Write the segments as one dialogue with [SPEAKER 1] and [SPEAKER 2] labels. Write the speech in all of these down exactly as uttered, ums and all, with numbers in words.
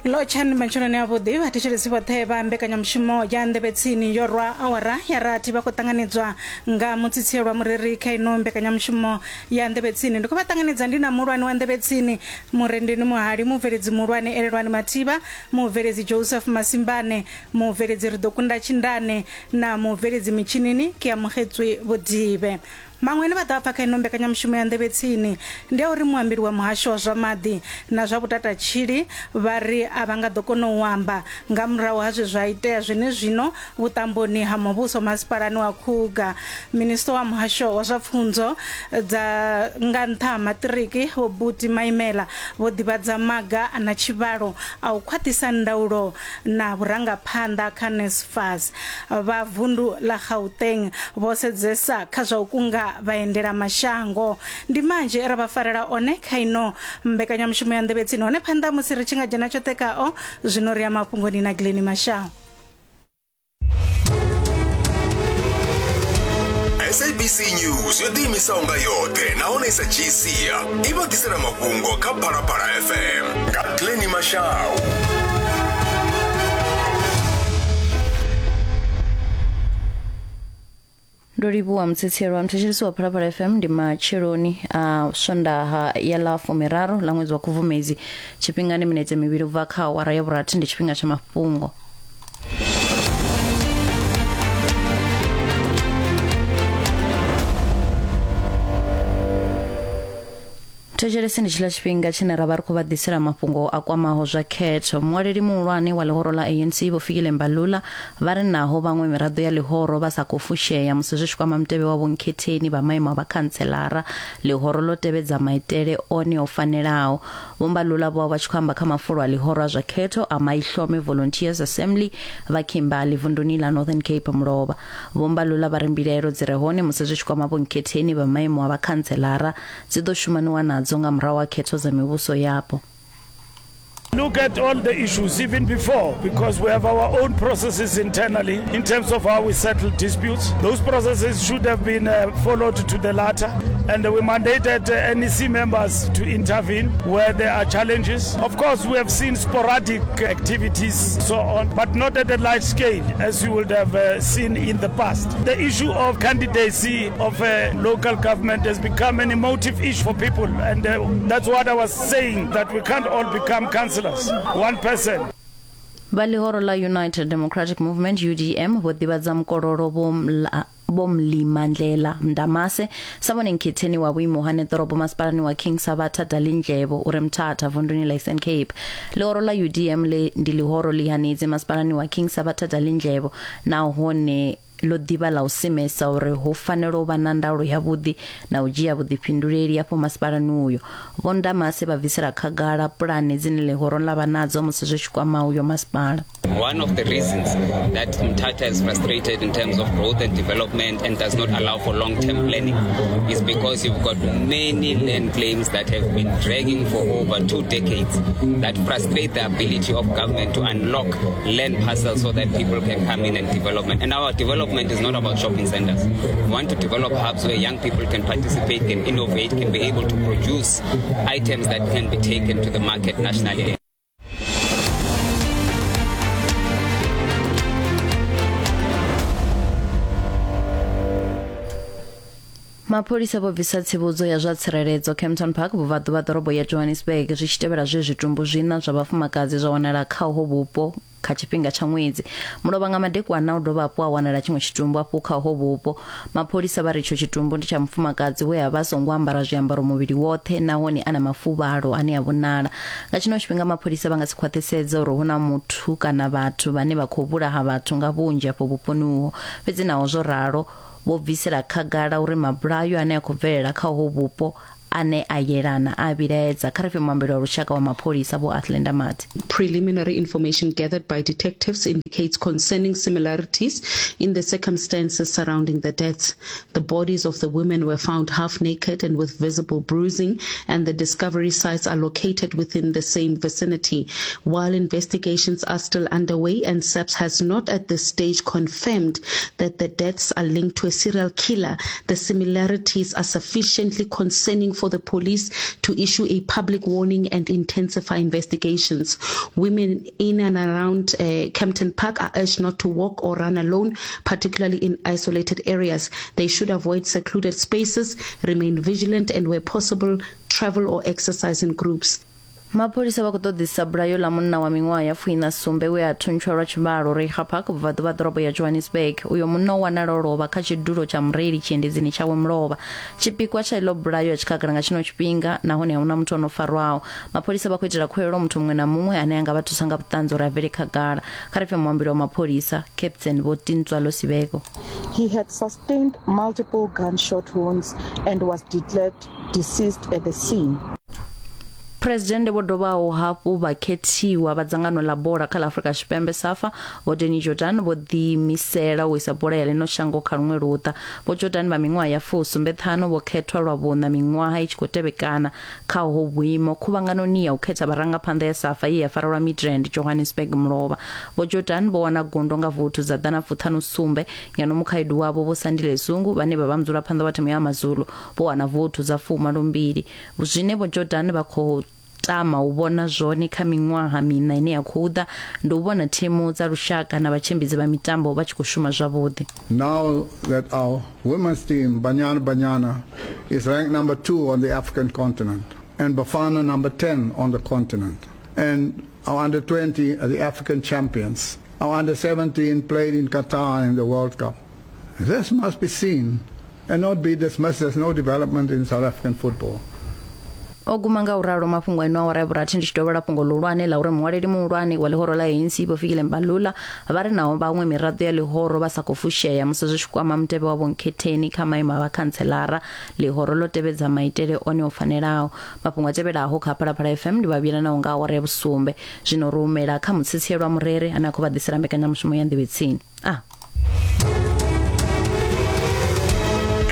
[SPEAKER 1] Lotshani matsheloni avhuḓi vhathetshelesi vhoṱhe vha mbekanyamushumo ya Nḓevhe Tsini yo rwa awara ya rathi vha khou ṱanganedzwa nga mutsitselwa mureri kha ino mbekanyamushumo ya Nḓevhe Tsini. Ndi khou vha ṱanganedza ndi na muhulwane wa Nḓevhe Tsini Murendeni Muhali, mubveledzi muhulwane Elelwani Mathivha, mubveledzi Joseph Masimbane, mubveledzi Ri ḓo kunda Tshindane na mubveledzi mitshinini Keamogetswe Vhodibe. Maṅwe ane vha ḓo pfa kha ino mbekanyamushumo ya Nḓevhe Tsini ndi a uri muambeli wa muhasho wa zwa maḓi na zwa vhutatatshili vha ri a vha nga ḓo kona u amba nga murahu ha zwe zwa itea zwenezwino vhuṱamboni ha muvhuso masipalani wa Kruger. Minisiṱa wa muhasho wa zwa pfunzo dza nga nṱha ha maṱiriki Vho Buti Maimela vho ḓivhadza maga na tshivhalo a u khwaṱhisa ndaulo na vhurangaphanḓa kha NSFAS. Vha vundu ḽa Gauteng vho sedzesa kha zwa u kunga vhaendela mashango. Ndi manzhi ra vha farela one kha ino mbekanyamushumo ya Nḓevhe Tsini. Hone phanḓa musi ri tshi nga dzhena tshoṱhe khao, zwino ri ya mafhungoni na Glenn Mashau.
[SPEAKER 2] S A B C News yo ḓiimisaho nga yoṱhe nahone i sa dzhii sia i vha ḓisela mafhungo kha Phalaphala F M nga Glenn Mashau.
[SPEAKER 3] Ndo livhuwa mutsitselwa muthetshelesi wa Phalaphala F M. Ndi matsheloni a Swondaha ya ḽa fumiraru ḽa ṅwedzi wa Khubvumedzi, tshifhingani minetse mivhili ubva kha awara ya vhurathi, ndi tshifhinga tsha mafhungo. Thetshelesi ndi tshiḽa tshifhinga tshine ra vha ri khou vha ḓisela mafhungo a kwamaho zwa khetho. Muṅwaleli muhulwane wa ḽihoro ḽa A N C Vho Fikile Mbalula vha ri naho vhaṅwe miraḓo ya ḽihoro vha sa khou fushea musi zwi tshi kwama mutevhe wa vhonkhetheni vha maimo a vhakhantselara, ḽihoro ḽo tevhedza maitele one o fanelaho. Vho Mbalula vho vha tshi khou amba kha mafulo a ḽihoro a zwa khetho a Maihlome Volunteers Assembly vha Kimberley vunduni ḽa Northern Cape mulovha. Vho Mbalula vha ri mbilaelo dzi re hone musi zwi tshi kwama vhonkhetheni vha maimo a vhakhantselara dzi ḓo shumaniwa nadzo nga murahu ha khetho dza mivhuso yapo.
[SPEAKER 4] Look at all the issues even before, because we have our own processes internally in terms of how we settle disputes. Those processes should have been uh, followed to the latter, and we mandated uh, N E C members to intervene where there are challenges. Of course, we have seen sporadic activities, so on, but not at a large scale as you would have uh, seen in the past. The issue of candidacy of a local government has become an emotive issue for people, and uh, that's what I was saying, that we can't all become councillors. One person.
[SPEAKER 3] Vha ḽihoro ḽa United Democratic Movement U D M vho ḓivhadza mukololo Vho Mlimandlela Ndamase sa vhone nkhetheni wa vhuimo ha ḓorobo masipalani wa King Sabatha Dalindlebo ure Mthatha vunduni ḽa Eastern Cape. Ḽihoro ḽa U D M le ndi ḽihoro ḽi hanedzi masipalani wa King Sabatha Dalindlebo nahone ḽo ḓivha ḽa u simesa uri hu fanela u vha na ndaulo yavhuḓi na u dzhia vhuḓifhinduleli afho masipalani uyo. Vho Ndamase vha bvisela khagala pulane dzine ḽihoro ḽa vha nadzo musi zwi tshi kwama uyo masipala.
[SPEAKER 5] One of the reasons that Mthatha is frustrated in terms of growth and development and does not allow for long-term planning is because you've got many land claims that have been dragging for over two decades that frustrate the ability of government to unlock land parcels so that people can come in and development. And our development is not about shopping centers. We want to develop hubs where young people can participate, can innovate, can be able to produce items that can be taken to the market nationally.
[SPEAKER 3] Mapholisa vho bvisa tsivhudzo ya zwa tsireledzo Kempton Park vhubvaḓuvha ḓorobo ya Johannesburg zwi tshi tevhela zwe zwitumbu zwiṋa zwa vhafumakadzi zwa wanala kha uho vhupo kha tshifhinga tsha ṅwedzi. Mulovha nga madekwana u dovha hafhu a wanala tshiṅwe tshitumbu afho kha uho vhupo. Mapholisa vha ri tsho tshitumbu ndi tsha mufumakadzi we a vha songo ambara zwiambaro muvhili woṱhe nahone a na mafuvhalo ane a vhonala. Nga tshino tshifhinga mapholisa vha nga si khwaṱhisedza uri hu na muthu kana vhathu vhane vha khou vhulaha vhathu nga vhunzhi afho vhuponi uho. Fhedzi naho zwo ralo, vho bvisela khagala uri mabulayo ane a khou bvelela kha uho vhupo ane a yelana a vhilaedza. Kha ri fhe muambeli wa lushaka wa mapholisa Vho Athlenda Mati.
[SPEAKER 6] Preliminary information gathered by detectives indicates concerning similarities in the circumstances surrounding the deaths. The bodies of the women were found half naked and with visible bruising, and the discovery sites are located within the same vicinity. While investigations are still underway and S A P S has not at this stage confirmed that the deaths are linked to a serial killer, the similarities are sufficiently concerning for the police to issue a public warning and intensify investigations. Women in and around uh, Kempton Park are urged not to walk or run alone, particularly in isolated areas. They should avoid secluded spaces, remain vigilant, and where possible, travel or exercise in groups.
[SPEAKER 3] Mapholisa vha khou ṱoḓisa bulayo ḽa munna wa miṅwaha ya fuiṋa sumbe we a thuntshwa lwa tshivhalo Reiger Park vhubvaḓuvha ḓorobo ya Johannesburg. Uyo munna o wanala o lovha kha tshidulo tsha mureili tshiendedzini tshawe mulovha. Tshipikwa tsha iḽo bulayo a tshi khagala nga tshino tshifhinga nahone ahuna muthu ono farwaho. Mapholisa vha khou itela khuwelelo muthu muṅwe na muṅwe ane a nga vha thusa nga vhuṱanzi uri a bvele khagala. Kha ri pfe muambeli wa mapholisa Captain Vho Tintswalo Sibeko.
[SPEAKER 7] He had sustained multiple gunshot wounds and was declared deceased at the scene.
[SPEAKER 3] President vho dovhaho hafhu vha khethiwa vha dzangano ḽa bola kha ḽa Afrika Tshipembe SAFA Vho Danny Jordan vho ḓiimisela u isa bola ya ḽino shango kha luṅwe luṱa. Vho Jordan vha miṅwaha ya fusumbe ṱhanu vho khethwa lwa vhuṋa miṅwaha i tshi khou tevhekana kha ho vhuimo khuvhanganoni ya u khetha vharangaphanḓa ya SAFA ye ya farelwa Midrand Johannesburg mulovha. Vho Jordan vho wana gundo nga vothu dza ḓana fuṱhanu sumbe ngeno mukhaedu wavho Vho Sandile Zungu vhane vha vha mudzulaphanḓa wa thimu ya AmaZulu vho wana vothu dza fumalo mbili. Zwine Vho Jordan vha khou tama u vhona zwone kha miṅwaha miṋa ine ya khou ḓa ndi u vhona thimu dza lushaka na vhatshimbidzi vha mitambo vha tshi khou shuma zwavhuḓi.
[SPEAKER 8] Now that our women's team Banyana Banyana is ranked number two on the African continent and Bafana number ten on the continent, and our under twenty are the African champions. Our under seventeen played in Qatar in the World Cup. This must be seen and not be dismissed as no development in South African football.
[SPEAKER 3] O guma nga uralo mafhungo ino awara ya vhurathi ndi tshi dovhela fhungo ḽihulwane ḽa uri muṅwaleli muhulwane wa ḽihoro ḽa A N C Vho Fikile Mbalula vha ri naho vhaṅwe miraḓo ya ḽihoro vha sa khou fushea musi zwi tshi kwama mutevhe wa vhonkhetheni kha maimo a vhakhantselara. Ḽihoro ḽo tevhedza maitele one o fanelaho. Mafhungo a tevhelaho kha Phalaphala F M ndi vha vhuyela naho nga awara ya vhusumbe. Zwino ri humela kha mutsitsi lwa murere ane a khou vha ḓisela mbekanyamushumo ya Nḓevhe Tsini. Ah.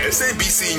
[SPEAKER 2] S A B C.